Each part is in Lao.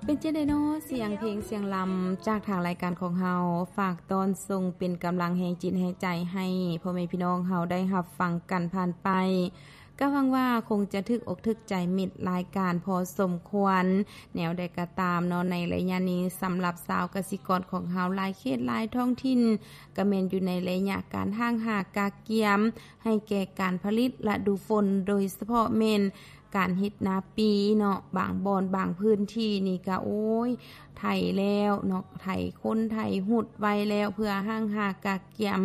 ເປັນຈັ່ງໃດເນາະ ສຽງເພງສຽງລຳຈາກທາງລາຍການຂອງເຮົາ ຝາກຕ້ອນສົ່ງເປັນກຳລັງແຮງຈິດແຮງໃຈໃຫ້ພໍ່ແມ່ພີ່ນ້ອງເຮົາໄດ້ຮັບຟັງກັນຜ່ານໄປ. ກໍຫວັງວ່າຄົງຈະຖືກອົກຖືກໃຈມິດລາຍການພໍສົມຄວນ. ແນວໃດກໍຕາມເນາະ ໃນໄລຍະນີ້ ສຳລັບຊາວກະສິກອນຂອງເຮົາ ຫຼາຍເຂດຫຼາຍທ້ອງຖິ່ນ ກໍແມ່ນຢູ່ໃນໄລຍະການຫ້າງຫາກະກຽມ ໃຫ້ແກ່ການຜະລິດລະດູຝົນ ໂດຍສະເພາະແມ່ນການເຮັດນາປີເນາະ. ບາງບ່ອນບາງພື້ນທີ່ນີ້ກໍ ໂອ້ຍ ໄຖແລ້ວເນາະ ໄຖຄົນໄຖຫຸດໄວ້ແລ້ວ ເພື່ອຫ້າງຫາກະກຽມ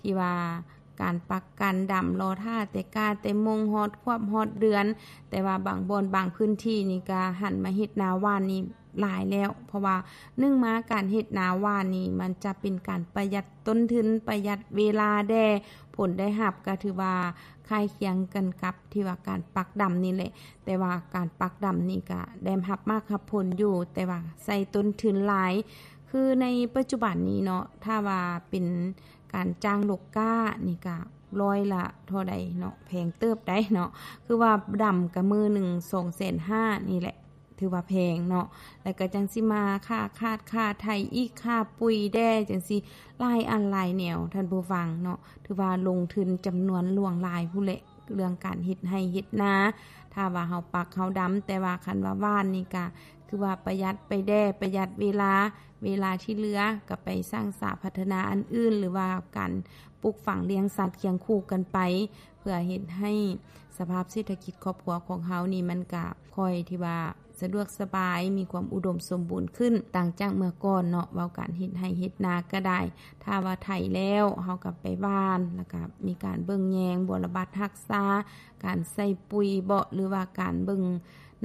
ທີ່ວ່າການປັກການດຳ ລໍຖ້າແຕ່ກ້າແຕ່ມົງ ຮອດຄວບຮອດເດືອນ. ແຕ່ວ່າບາງບ່ອນບາງພື້ນທີ່ນີ້ກໍຫັນມາເຮັດນາຫວ່ານນີ້ ຫຼາຍແລ້ວ ເພາະວ່າໜຶ່ງມາການເຮັດນາຫວ່ານນີ້ ມັນຈະເປັນການປະຢັດຕົ້ນທຶນ ປະຢັດເວລາແດ່ ຜົນໄດ້ຮັບກໍຖືວ່າຄ້າຍຄຽງກັນກັບທີ່ວ່າການປັກດຳນີ້ແຫຼະ. ແຕ່ວ່າການປັກດຳນີ້ກະໄດ້ຮັບໝາກຮັບຜົນຢູ່ ແຕ່ວ່າໃຊ້ຕົ້ນທຶນຫຼາຍ. ຄືໃນປັດຈຸບັນນີ້ເນາະ ຖ້າວ່າເປັນການຈ້າງລົກກ້ານີ້ກະຮ້ອຍລະເທົ່າໃດເນາະ ແພງເຕີບໃດເນາະ ຄືວ່າດຳກະມື້ໜຶ່ງສອງແສນຫ້ານີ້ແຫຼະ ຖືວ່າແພງເນາະ. ແລ້ວກໍຈັ່ງຊິມາຄ່າຄາດຄ່າໄຖອີກ ຄ່າປຸຍແດ່ ຈັ່ງຊີ້ ຫຼາຍອັນຫຼາຍແນວ ທ່ານຜູ້ຟັງເນາະ. ຖືວ່າລົງທຶນຈຳນວນຫຼວງຫຼາຍພຸ້ນແຫຼະ ເລື່ອງການເຮັດໄຮ່ເຮັດນາ ຖ້າວ່າເຮົາປັກເຮົາດຳ. ແຕ່ວ່າຄັນວ່າຫວ່ານນີ້ກະຄືວ່າປະຢັດໄປແດ່ ປະຢັດເວລາ ເວລາທີ່ເຫຼືອກໍໄປສ້າງສາພັດທະນາອັນອື່ນ ຫຼືວ່າການປູກຝັງລ້ຽງສັດຄຽງຄູ່ກັນໄປ ເພື່ອເຮັດໃຫ້ສະພາບເສດຖະກິດຄອບຄົວຂອງເຮົານີ້ ມັນກະຄ່ອຍທີ່ວ່າສະດວກສະບາຍ ມີຄວາມອຸດົມສົມບູນຂຶ້ນ ຕ່າງຈາກເມື່ອກ່ອນເນາະ. ເວົ້າການເຮັດໄຮ່ເຮັດນາກໍໄດ້ ຖ້າວ່າໄຖແລ້ວ ເຮົາກໍໄປຫວ່ານ ແລ້ວກໍມີການເບິ່ງແຍງບົວລະບັດຮັກສາ ການໃສ່ປຸຍເບາະ ຫຼືວ່າການເບິ່ງ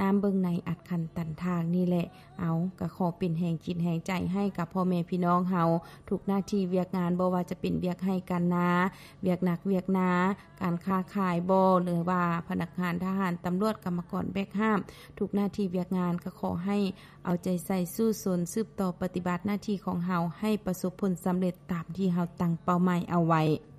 ນ້ຳເບິ່ງໃນອັດຂັນຕັນທາງນີ້ແຫຼະ. ເອົາ ກໍຂໍເປັນແຮງຈິດແຮງໃຈໃຫ້ກັບພໍ່ແມ່ພີ່ນ້ອງເຮົາ ທຸກໜ້າທີ່ວຽກງານ ບໍ່ວ່າຈະເປັນວຽກໄຮ່ການນາ ວຽກໜັກວຽກໜາ ການຄ້າຂາຍບໍ ຫຼືວ່າພະນັກງານທະຫານ ຕຳຫຼວດ ກຳມະກອນແບກຫາບ ທຸກໜ້າທີ່ວຽກງານ ກໍຂໍໃຫ້ເອົາໃຈໃສ່ສູ້ຊົນ ສືບຕໍ່ປະຕິບັດໜ້າທີ່ຂອງເຮົາ ໃຫ້ປະສົບຜົນສຳເລັດຕາມທີ່ເຮົາຕັ້ງເປົ້າໝາຍເອົາໄວ້.